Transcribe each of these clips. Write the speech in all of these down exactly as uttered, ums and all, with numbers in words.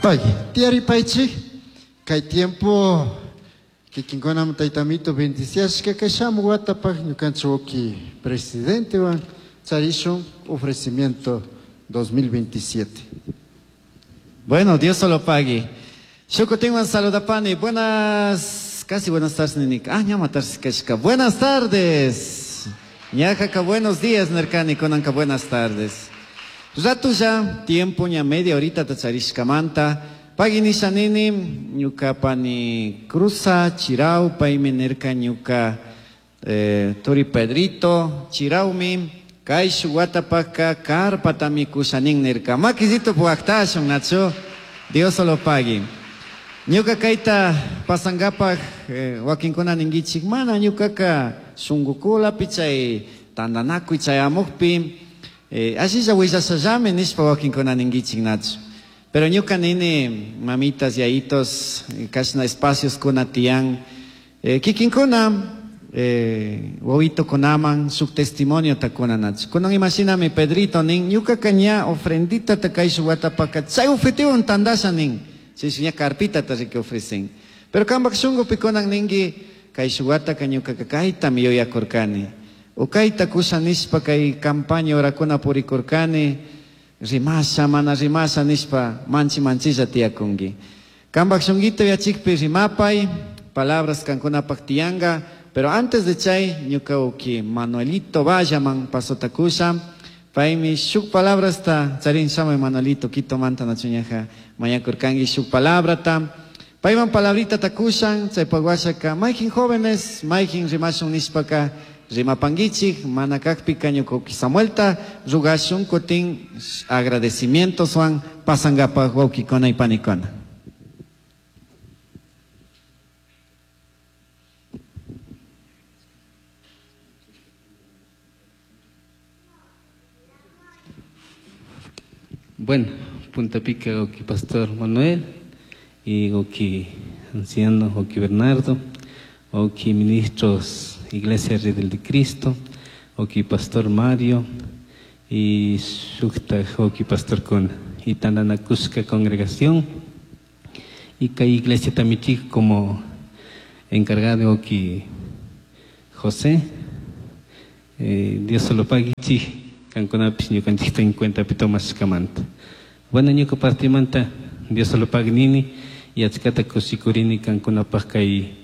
Pagui, tiyaripaychik, kay tiempo kikinkunam taytamito bendiciashka kay shamuq watapaq ñukanchik wawki presidentewan charishun ofrecimiento dos mil veintisiete. Bueno, Dios solo pague. Shukutinwan saludapani. Buenas, casi buenas tardes, ninika. Ah, ñama tardes kashka. Buenas tardes. Ñajaka buenos días, nerkani, kunanka buenas tardes. Rato ya, tiempo ña media horita tacharishkamanta. Pagui nisha nini, ñuka pani cruza, chirau, paymi nerka ñuka, eh, turi Pedrito, chiraumi, kay shuwatapaka karpatami kushanin nerka. Makisito puaktashun, nacho, Dios solo pagui. Ñuka kayta pasangapak, eh, wakinkuna ningichik, mana ñukaka shungukulapi chay tandanakuy chayamukpi, eh, asilla willashallami nishpa wakinkuna ningichik, nacho. Pero ñuka nini, mamitas, yayitos, kashna espacios kuna tiyan, eh, kikinkuna, eh, wawito kunaman, shuk testimonio takuna nacho. Kunan imaginami Pedrito nin, ñuka kaña ofrendita takay shuwatapaka, chay ofretiwan tandasha nin, chay ña carpita ta riki ofrecen. Pero kambak shungupi kunan ningi, kay shuwataka ñuka kaytami yuyakurkani. O kayta kusha nishpa kay campaña orakuna purikurkani, rimasha, mana rimasha nishpa, manchi manchilla tiyakungi. Kambak shunguito yachikpi rimapay, palabras kankunapak tiyanga, pero antes de chay, ñuka uki Manuelito Vallaman pasota kusha, paymi shuk palabrasta, charin shamay Manuelito, Quito manta nachuñaja, mañakurkangi shuk palabrata, payman palabrita takushan, chay paguashaka, mayjin jóvenes, mayjin rimashun nishpaka, rimapangichik, mana kakpika ñuka uki Samuelta, rugashun kutin agradecimientos wan pasangapaj wawkikuna y panikuna. Bueno, Punta Pica, oki Pastor Manuel, y oki anciano, oki Bernardo, oki ministros Iglesia Redel de Cristo, oki Pastor Mario, y shukta oki Pastor con Itananacushka congregación, y kay Iglesia Tamichik como encargado oki José, eh, Dios solo pague, chi. Kankunapis ñukanchikta en cuenta pitomas kamanta. Bueno, ñuka partimanta, Dios solo pague nini, y achkata kusikurini kankunapaj kay,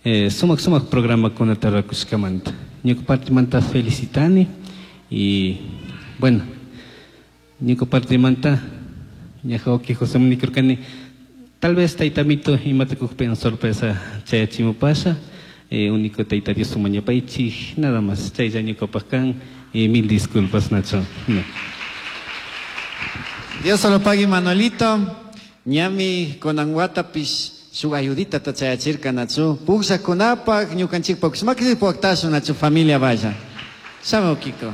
eh, sumak sumak programa kunata rakushkamanta. Ñuka partimanta felicitani, y bueno, ñuka partimanta, ñaja oki José Munikurkani, tal vez taitamito imatakukpen sorpresa chayachimupasha, eh, único taita Dios sumañapaichi, nada más, chaylla ñukapaj kan. Y mil disculpas, Nacho. No. Dios solo pague, Manuelito. Ñami konanguatapis shuk ayudita tachayachirka, Nacho. Pugsa kunapak, ñukanchikpak, makisi puaktashu, Nacho, familia vaya. Shamo, Kiko.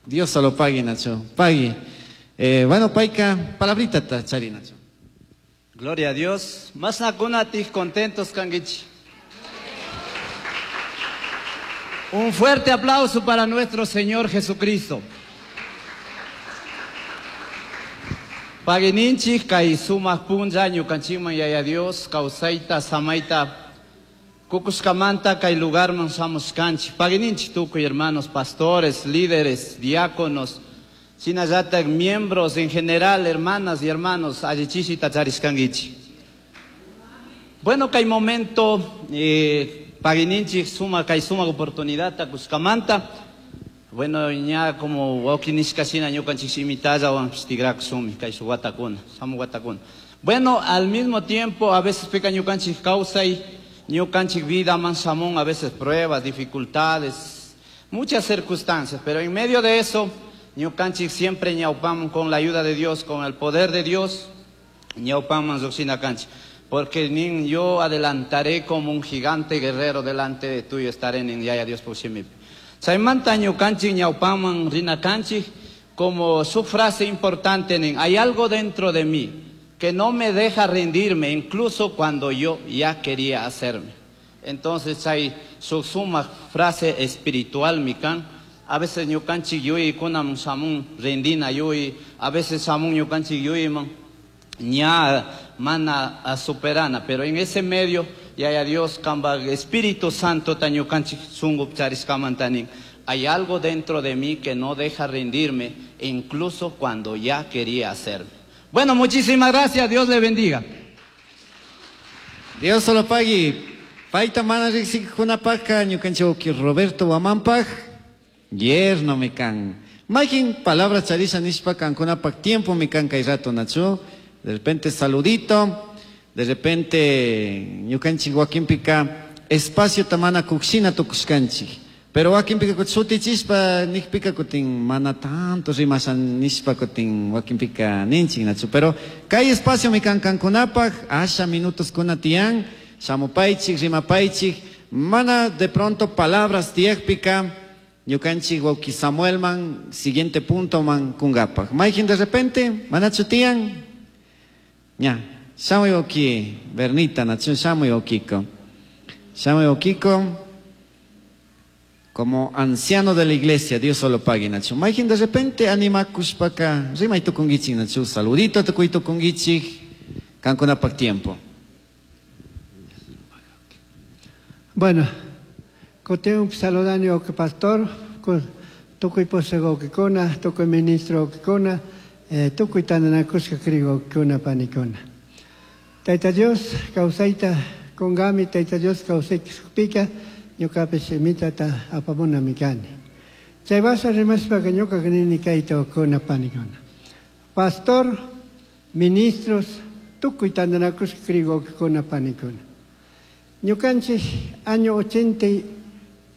Dios solo pague, Nacho. Pague. Eh, bueno, Paika, palabrita tachari, Nacho. Gloria a Dios. Más nakunatik contentos, kangichi. Un fuerte aplauso para nuestro Señor Jesucristo. Paguininchik kay sumaq punlla ñukanchikman yaya Dios kawsayta samayta kukuskamanta kay lugarman shamushkanchik. Paguininchik tukuy hermanos, pastores, líderes, diáconos, shinallatak miembros en general, hermanas y hermanos, allichishi tacharishkankichik. Bueno, kay momento, eh, Paguininchik suma kay suma oportunidad takuskamanta. Bueno, ña como wawkinishka shina ñukanchik shimitalla wan tigrakusumi kay shuwatakuna, samuwatakuna. Bueno, al mismo tiempo a veces pica ñukanchik kawsay, ñukanchik vida man shamun, a veces pruebas, dificultades, muchas circunstancias, pero en medio de eso ñukanchik siempre ñaupam con la ayuda de Dios, con el poder de Dios, ñaupam man lluqshina kanchik. Porque nin yo adelantaré como un gigante guerrero delante de tuyo estaré en Yaya Dios por sí mismo. Chaymanta ñukanchik ñawpaman rina kanchik, como su frase importante nin, hay algo dentro de mí que no me deja rendirme, incluso cuando yo ya quería hacerme. Entonces hay su suma frase espiritual, mikan, A veces ñukanchik yuyaykunaman shamun rendina yuyay, a veces shamun ñukanchik yuyayman ña mana superana, pero en ese medio Yaya Dios kamba Espíritu Santo ta ñukanchik shunkupi charishkamanta nin, hay algo dentro de mí que no deja rendirme, incluso cuando ya quería hacerme. Bueno, muchísimas gracias, Dios le bendiga. Dios solo pagui. Paita mana riqsikunapaqqa ñukanchik Roberto Wamanpaq yerno mi kan. Mayqin palabras charisha nishpa kankunapaq tiempo mi kan kay rato nachu. De repente saludito, de repente ñukanchik wakinpika espacio tamana kukshina tukushkanchik. Pero wakinpika sutichishpa nikpika kutin mana tanto rimasha nishpa kutin wakinpika ninchik nachu. Pero kay espacio mi kan kankunapaq asha minutos kuna tiyan. Shamupaychik, rimapaychik, mana de pronto palabras tiyakpika, ñukanchik wawki Samuelman, siguiente punto man kungapaq. Mayqin de repente, manachu tiyan? Ña, shamuy wawki Bernita, nachu shamuy wawkiko. Shamuy wawkiko, como anciano de la iglesia, Dios solo pague, nachu. Mayqin de repente animakushpaka, rimay tukunkichik, nachu, saludito tukuy tukunkichik, kankunapaq tiempo. Bueno, kutin saludani que pastor, tukuy posego que kona, tukuy ministro que kona, tukuy tandanakushka krigo kuna panikuna. Taita Dios causaita kongami, Taita Dios causaita pika, ñukapish mitata apamuna mikani. Chay basa rimashpa que ñuka nini kayta kuna panikuna. Pastor, ministros, tukuy tandanakushka krigo kuna panikuna. Ñukanchik año ochenta,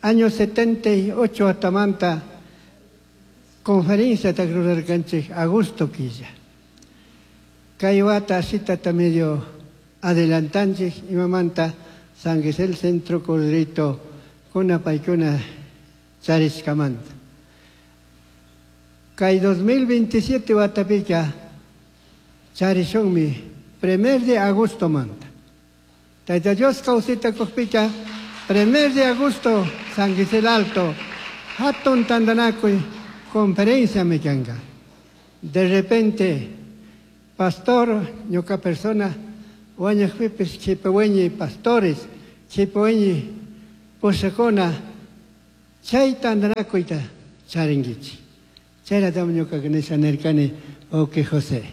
año setenta y ocho atamanta conferencia takrurarkanchik agosto quilla. Kay wata asitata medio adelantanchik imamanta San Gisel Centro Corderito kuna paykuna charishkamanta. Kay dos mil veintisiete watapika charishunmi primer de agosto manta. Taita Dios causita kuspika, primer de agosto, San Gisel Alto, hatun tandanakuy, conferencia mekanga. De repente, pastor, ñuka persona, wañajpipis, chipehueñi, pastores, chipehueñi, pusakuna, chay tandanakuyta charinguichi. Chayratam ñuka nisha nirkani, oke José.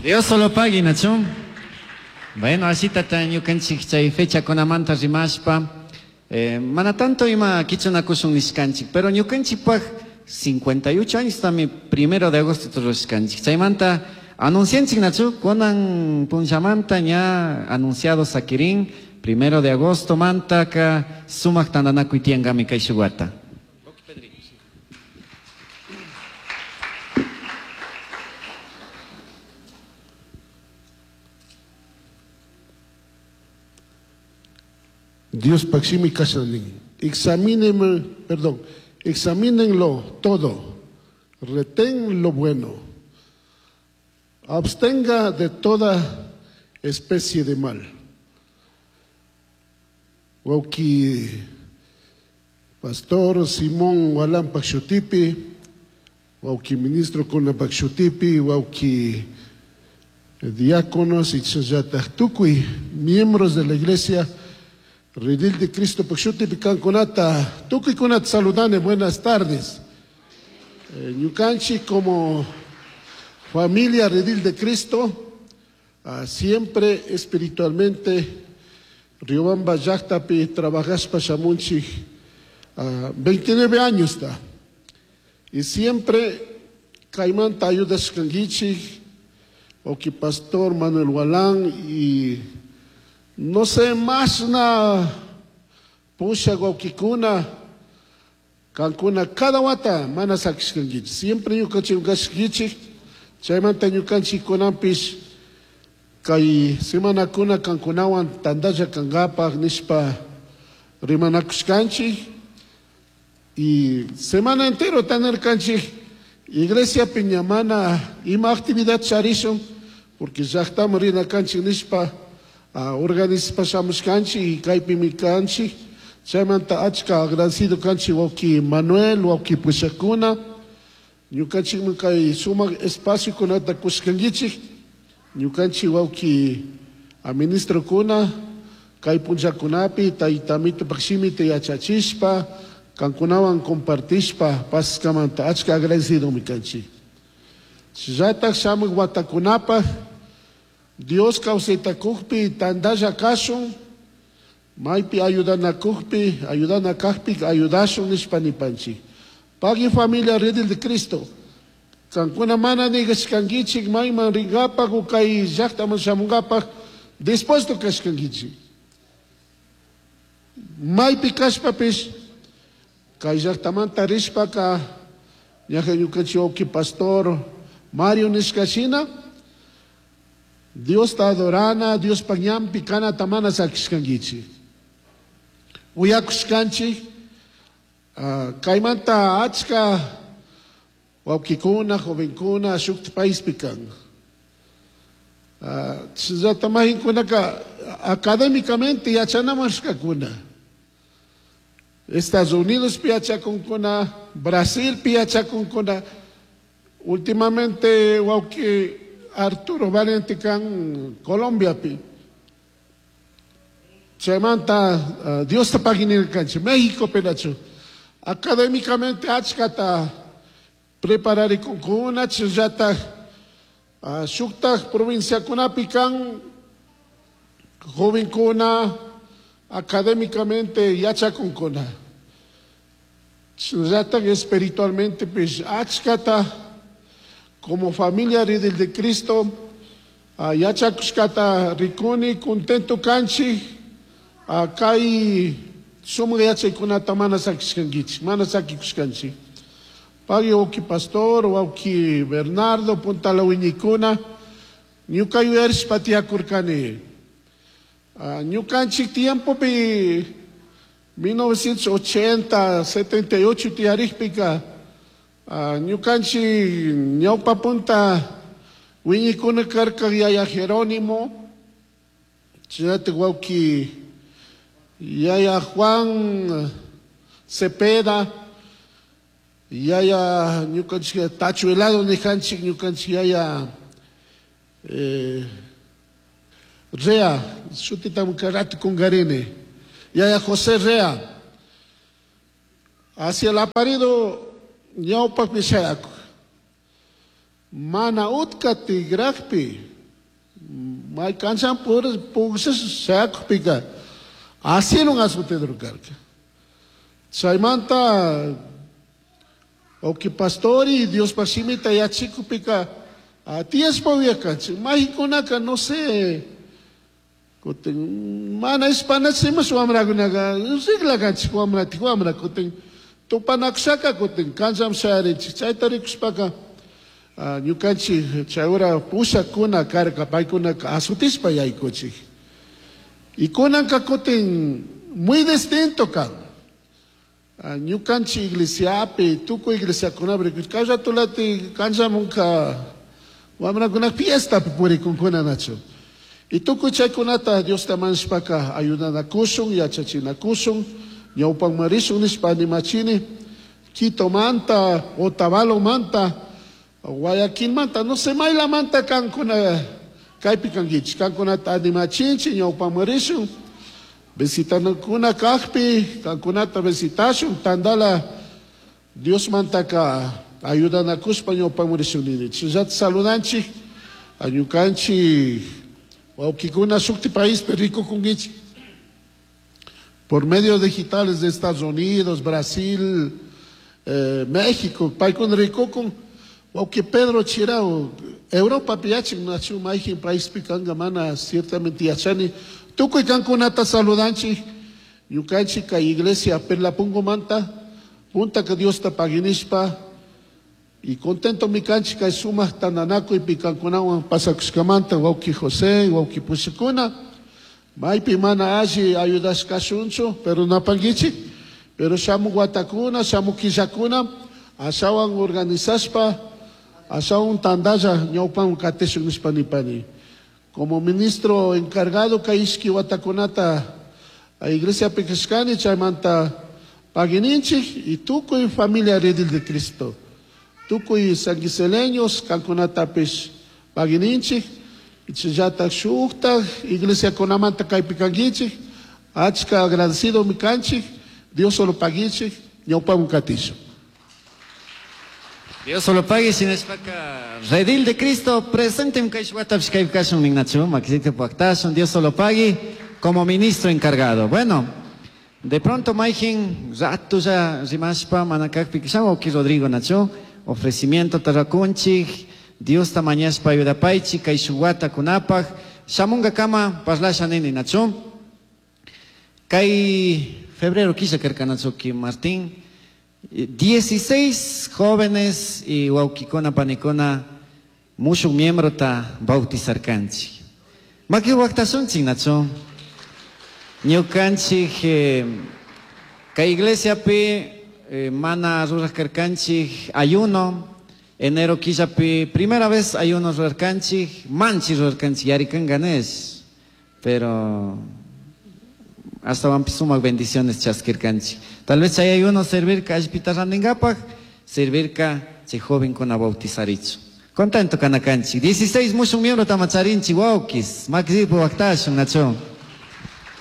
Dios solo pague, Nacho. Bueno, así tata ñukanchik chay fecha kunamanta rimashpa, eh, mana tanto ima kichunakushun nishkanchik, pero ñukanchikpaq cincuenta y ocho años también primero de agosto turushkanchik. Chaymanta anuncianchik nachu, kunan punchamanta ña anunciado sakirin, primero de agosto mantaka sumaq tantanakuy tiyankami kay shuwata. Dios paximi kashanin. Examínenme, perdón, examínenlo todo, retén lo bueno, abstenga de toda especie de mal. Wauki pastor Simón Walan Pakshutipi, wauki ministro Kuna Pakshutipi, wauki diáconos y tukuy, miembros de la iglesia Redil de Cristo Pakshutipi Kankunata, tukuy kunat saludane, buenas tardes. Eh, ñukanchi como familia Redil de Cristo, ah, siempre espiritualmente, Riobamba llaqtapi trabajaspa shamunchik, ah, veintinueve años está. Y siempre kaymanta ayudashkankichik, oki pastor Manuel Walán y no sé más na pusha wawkikuna kankuna cada wata mana sakishkankichik. Siempre ñukanchik kashkichik, chaymanta ñukanchik kunanpis kay semanakuna kankunawan tandalla kankapaq nishpa rimanakushkanchik. Y semana entero tanarkanchik iglesia piñamana ima actividad charishun porque llaqtaman rinakanchik nishpa organizaspa shamushkanchik y kaypimi kanchik. Chaymanta achka agradecido kanchik wawki Manuel, wawki pushakuna. Ñukanchikman kay sumak espaciokunata kushkankichik. Ñukanchik wawki ministrokuna kay punllakunapi tayta Amitopak shimita yachachishpa kankunawan compartishpa paskamanta achka agradecidomi kanchik. Shinallatak shamuk watakunapaj Dios kawsaytakukpi tantalla kashun, maypi ayudanakukpi, ayudana kajpi ayudashun nishpa nipanchik. Pagui familia Redil de Cristo. Kankuna mana nigashkankichik mayman rinkapak o kay llaktaman shamunkapak dispuesto kashkankichik. Maypi kashpapish kay llaktamanta rishpaka ñaja ñukanchik wawki pastor Mario nishka shina Diosta adorana, Diospak ñanpi kanata mana sakishkankichik. Uyakushkanchik uh, kaymanta achka wawkikuna, jovenkuna shukti paispi kan. Uh, Chillata mahinkunaka académicamente yachanaman rishkakuna. Estados Unidos pi yachakunkuna, Brasil pi yachakunkuna. Últimamente wawki Arturo Valente kan Colombia pi. Chaymanta uh, Diosta pagui nirkanchik, México penachu. Académicamente achkata prepararikunkuna, chillata uh, shuktak provinciakunapi kan jovenkuna académicamente yachakunkuna. Chillata espiritualmente pues achkata como familia Redil de Cristo uh, yachakushkata rikuni contento kanchik uh, kay sumak yachaykunata mana sakishkankichik, mana sakikushkanchik. Pagui wawki pastor, wawki Bernardo, puntala wiñikuna, ñuka yuyarishpa tiyakurkani. Uh, ñukanchik tiempopi mil novecientos ochenta, setenta y ocho tiyarikpika uh, ñukanchik ñawpa punta wiñikuna karka yaya Jerónimo, chayati wawki yaya Juan Cepeda, yaya ñukanchik Tachuelado nijanchik ñukanchik yaya eh, Rea, shutita karatu kungarini, yaya José Rea, hacia el aparido ñawpakpi shayaku, mana utka tigrakpi, may kanchan pugsas shayakupika, asilun asutedru karka. Chaymanta wawki pastori Dios pashimita yachikupika tiyashpa uyakanchik, mahikunaka no sé, kutin mana ispanachimash wamrakunaka riklakanchik wamratik wamra kutin tupanakushaka kutin kancham shayarinchik. Chayta rikushpaka ñukanchik chay hora pushakuna karka paykunaka asutishpa yaykuchik. Y kunanka kutin muy distinto kan. Ñukanchik iglesiapi tukuy iglesiakunapi kay ratulati kanchamunka wamrakuna fiestapi purikunkuna nachu. Y tukuy chaykunata Diosta manshpaka ayudanakushun, yachachinakushun, ñawpanmarishun nishpa animachini, Quito manta, Otavalo manta, Guayaquil manta, no sé, maylamanta kankuna kaypi kankichik, kankunata animachinchik, ñawpanmarishun, visitanakuna kajpi, kankunata visitashun, tandala Dios mantaka ayudanakushpa ñawpanmarishun nini. Chillata saludanchik, añukanchik, wawkikuna shukti paispi rikukunkichik. Por medios digitales de Estados Unidos, Brasil, eh, México, paykuna rikukun, wawki Pedro Chirao, Europa piachik nachu mayjin paispi kanka mana ciertamente yachani, tukuy kankunata saludanchik, ñukanchik kay iglesia Perlapungo manta, punta que Dios ta paginishpa, y contento mi kanchik kay sumak tandanakuy pi kankunawan pasakushkamanta, wawki José, wawki pushikuna, maypi mana alli ayudashkashunchu, pero napankichik, pero shamuk watakuna, shamuk killakuna, ashawan organizashpa, ashawan tandalla ñawpan katishun nishpa nipani. Como ministro encargado kay ishki watakunata Iglesia Pekashkani chaymanta pagininchik y tukuy familia Redil de Cristo. Tukuy sanguiseleños kankunatapish pagininchik chayllatak shuktak iglesia kunamanta kaypi kankichik achka agradecido mi kanchik Dios solo pagichik ñawpamun katishun. Dios solo pague shinashpaka Redil de Cristo presente kay watapish kaypi kashun ninnachu makisita puaktashun Dios solo pague como ministro encargado. Bueno, de pronto mayjin ratu ya rimashpa mana kakpi wawki Rodrigo nachu ofrecimiento tarrakunchik Dios ta mañashpa ayudapaychik kay shuk wata kunapaj shamunga kama parlasha nini nachu kay febrero killa karka nachu ki Martín dieciséis jóvenes y wawkikuna panikuna mushuk miembro ta bautizarkanchik. Maki waqtashunchik nachu ñukanchik eh, kay iglesiapi eh, mana ruraj karkanchik ayuno enero killapi primera vez ayuno rurarkanchik manchi rurarkanchik yarikanganesh pero hasta van sumak bendiciones chaskirkanchik tal vez chay ayuno servirka allpita randinkapaj servirka chay jovenkuna bautizarichu contento kanakanchik dieciséis mushuk miembro tamacharinchik wawkis makisipu waqtashun nachu.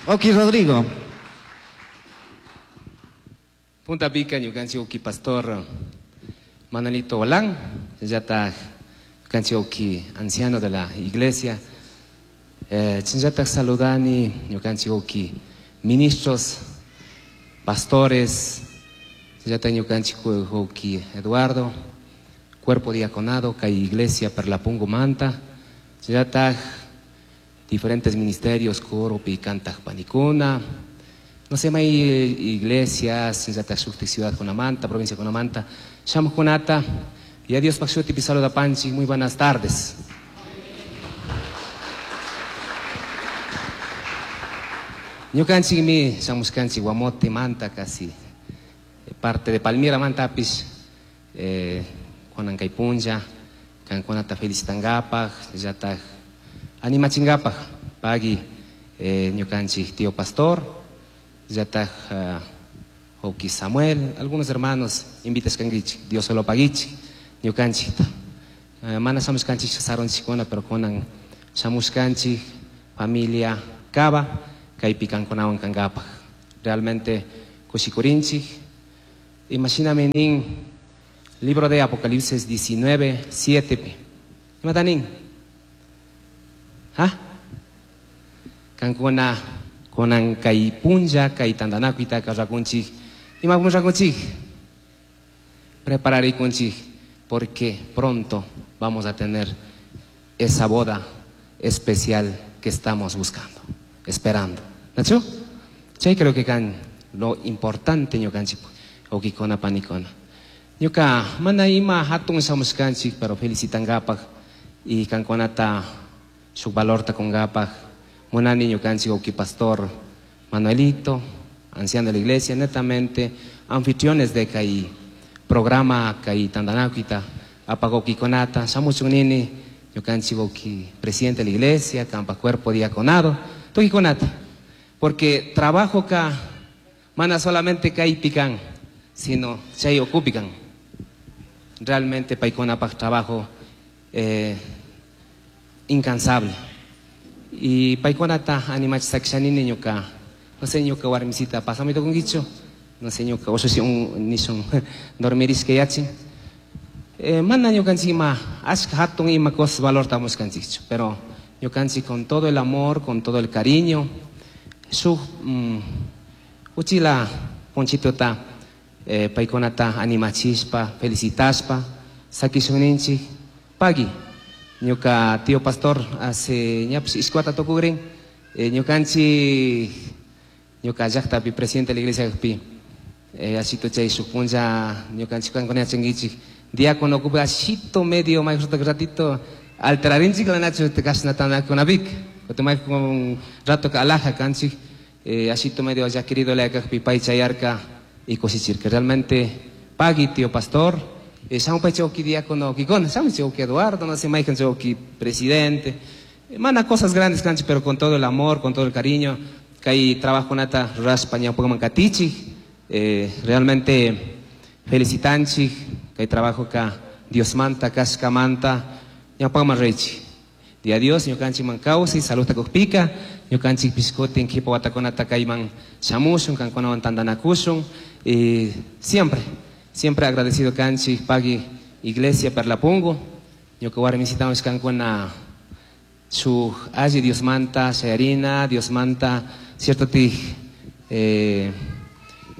Oki Rodrigo. Punta Pica, ñukanchik uki pastor Manuelito Olán, chayllatak ñukanchik uki anciano de la iglesia. Eh, chayllatak saludani ñukanchik uki ministros, pastores, chayllatak ñukanchik uki Eduardo, cuerpo diaconado, kay iglesia Perlapungo Manta, chayllatak diferentes ministerios, coro, cantaj panikuna, no sé, hay iglesias, chayllatak shuktik ciudad Conamanta, provincia Conamanta, shamukunata, y adiós pakshuti pisalo da panchi, muy buenas tardes. Ñukanchik mi shamushkanchik Guamote Manta, casi parte de Palmira Mantapis, eh, kunan kay punlla, kankunata felicitangapaj, chayllatak animachingapaj, pagui eh, ñukanchik tío pastor, chayllatak uh, wawki Samuel, algunos hermanos invitashkankichik, Dios solo paguichik, ñukanchikta. Uh, mana shamushkanchik sarunchikkuna, pero kunan shamushkanchik familia Cava, kaypi kankunawan kankapaj. Realmente kushikurinchik. Imagíname nin libro de Apocalipsis diecinueve, siete. Imata nin? ¿Ah? Kankuna kunan kay punlla, kay tandanakuita karrakunchik. Ima punrakunchik? Prepararikunchik, porque pronto vamos a tener esa boda especial que estamos buscando, esperando. ¿Nacho? Chay creo que kan lo importante ñukanchik okikona panikona. Ñuka mana ima hatun shamushkanchik, pero felicitangapaj y kankunata shuk valorta kungapaj. Munani ñukanchik oki pastor Manuelito, anciano de la iglesia, netamente anfitriones de kay programa kay tandanakuita apagokikonata shamuchun nini ñukanchik oki presidente de la iglesia, kampa cuerpo diaconado, tukikonata, porque trabajo ka mana solamente kaypikan, sino chay ocupican. Realmente paykunapaj trabajo eh, incansable. Y paykunata animachisakishanini ñuka, no sé ñuka warmisita pasamito kunkichu, no sé ñuka ushushi un nishun dormirishka yachin. Eh, mana ñukanchik ima ashka hatun ima cosas valor tamushkanchikchu, pero ñukanchik con todo el amor, con todo el cariño, shuk mm, uchila ponchitota eh, paykunata animachishpa, felicitashpa, sakishuninchik, pagui. Ñuka tío pastor hace ñapish ishkuata tukukrin, eh, ñukanchik ñuka llaqtapi presidente de la iglesia pi eh, ashito chay shuk punlla ñukanchik kankuna yachankichik diácono ocupa ashito medio mayqinta ratito alterarinchik la nachu kashnatanakunapik kutin mayqin un rato ka alaja kanchik eh, ashito medio ya querido la kaqpi pay chayarka y kushichirka realmente pagui tío pastor. Eh, shamupai chawki diácono kikona, shamupai chawki Eduardo, no sé, mayqin chawki presidente. Eh, mana cosas grandes kanchik, pero con todo el amor, con todo el cariño. Kay trabajokunata rurashpa ñawpakman katichik. Eh, realmente felicitanchik kay trabajoka Diosmanta kashkamanta ñawpakman riychik. Dia Dios ñukanchikman kawsay saludta kukpika ñukanchik pishkutin kipa watakunata kayman shamushun kankunawan tantanakushun y siempre siempre agradecido kanchik pagui iglesia Perlapungo ñuka warmisitawanpish kankuna shuk alli Diosmanta shayarina Diosmanta cierto tik eh,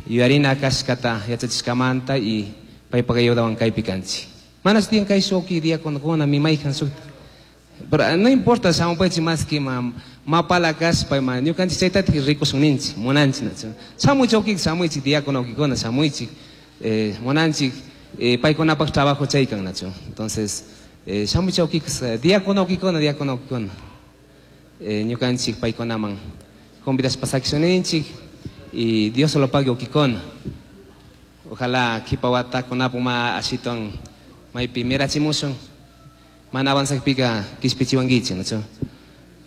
yuyarina kashkata yachachishkamanta y paypak ayudawan kaypi kanchik. Mana tiyan kay shuki diaconokuna mi mayjan shuk pero no importa shamupaychik más que ma mapala kashpa ma ñukanchik chaytatik rikushun ninchik munanchik nachu shamuychik wawkik shamuychik diácono wawkikuna shamuychik eh, munanchik eh, paykunapak trabajo chaykan nachu entonces eh, shamuychik wawkik diácono wawkikuna diácono wawkikuna eh, ñukanchik paykunaman convidashpa sakishun y Dios lo pague wawkikuna ojalá kipa watakunapak ma ashiton maypi mirachimushun mana avanzakpika kishpichiwankichik nachu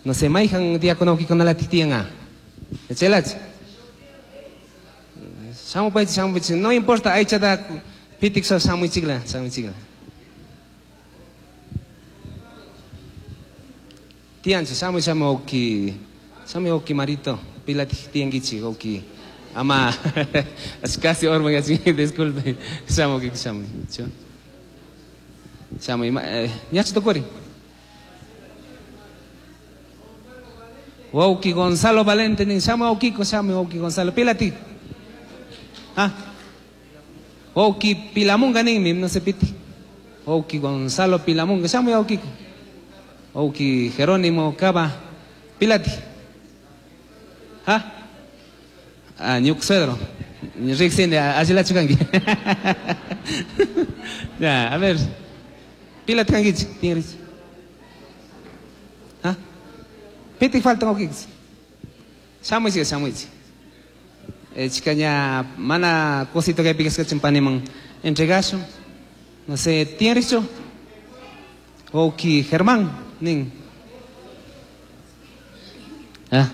no sé mayjan diácono wawkikunalatik tiyan a chaylachi shamupaychik shamupaychik no importa aychata pitik shamuychikla shamuychikla tiyanchu shamuy shamuy wawki shamuy wawki Marito pilatik tiyankichik wawki ama casi orman disculpe shamuy wawki shamuy shamuy ñachu tukuri wawki Gonzalo Valente nin shamuy wawkiko shamuy wawki Gonzalo pilatik ah wawki Pilamunga ninmi no sé piti wawki Gonzalo Pilamunga shamuy wawkiko wawki Jerónimo Cava pilati ah ah ñuka suegro riqsini allilachu kanki ya a ver pilati kankichik tinrichik ah pitik faltan wawkichik shamuychik shamuychik eh, chika ña mana cosito kaypi kashkachin paniman entregashun no sé tiyanrichu wawki Germán nin ah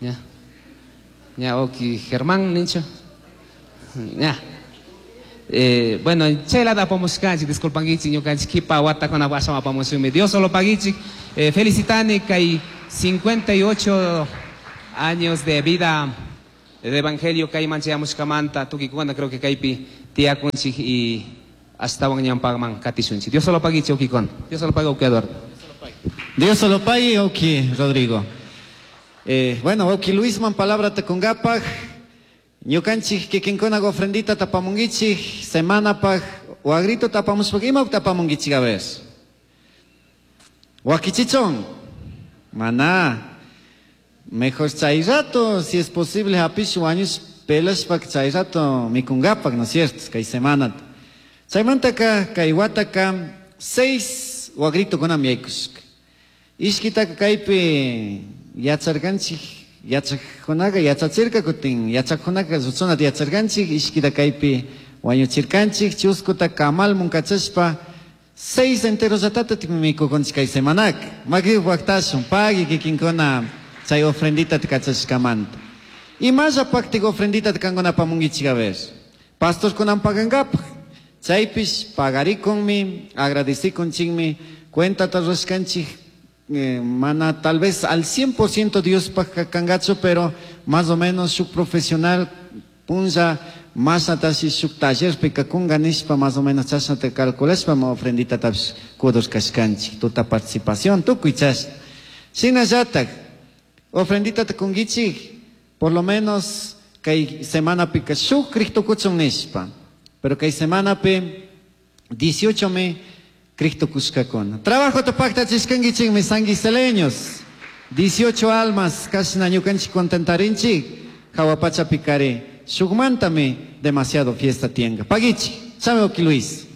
ña ña wawki Germán ninchu ña eh, bueno chaylata apamushkanchik disculpankichik ñukanchik kipa watakuna ashawan apamushunmi Dios solo paguichik eh, felicitani kay cincuenta y ocho años de vida de evangelio kayman chayamushkamanta tukikuna creo que kaypi tiyakunchik y ashtawan ñawpakman katishunchik Dios solo paguichik wawkikuna Dios solo pague wawki Eduardo. Dios solo pague wawki Rodrigo. Eh, bueno wawki Luisman palabra takungapak ñukanchik kikinkuna ofrendita tapamunkichik semanapaj wagrito tapamushpak ima tapamunkichik a ver wakichichon mana mejor chay rato si es posible hapish wañush pelashpak chay rato mikungapak no es cierto kay semana chaymantaka kay wataka seis wagritokunami yaykushka ishkitaka kaypi yacharkanchik yachaqkunaqa yachachirka kutin yachaqkunaqa ruchunata yacharkanchik ishkita kaypi wañuchirkanchik chuskuta kamalmun kachashpa seis enteros llatata mikukunchik kay semanaka maki waqtashun pagui kikinkuna chay ofrendita kachashkamanta imallapaqtik ofrendita kankuna apamunkichik a ver pastorkunan pagankapaq chaypish pagarikunmi agradecikunchikmi cuentata rurashkanchik eh, mana tal vez al cien por ciento Diospaj kangachu pero más o menos shuk profesional punlla masnatashi shuk tallerpi kakunga nishpa más o menos chashnata calculashpa ma ofrenditatapish kudur kashkanchik tuta participación tukuy chashna shinallatak ofrenditata kunkichik por lo menos kay semanapika shuk kriqtukuchun nishpa pero kay semanapi dieciocho me kriqtukushkakuna trabajota paktachishkankichikmi sanguiseleños dieciocho almas kashna ñukanchik contentarinchik hawa pachapikari shukmantami demasiado fiesta tienga pagichi chame wawki Luis.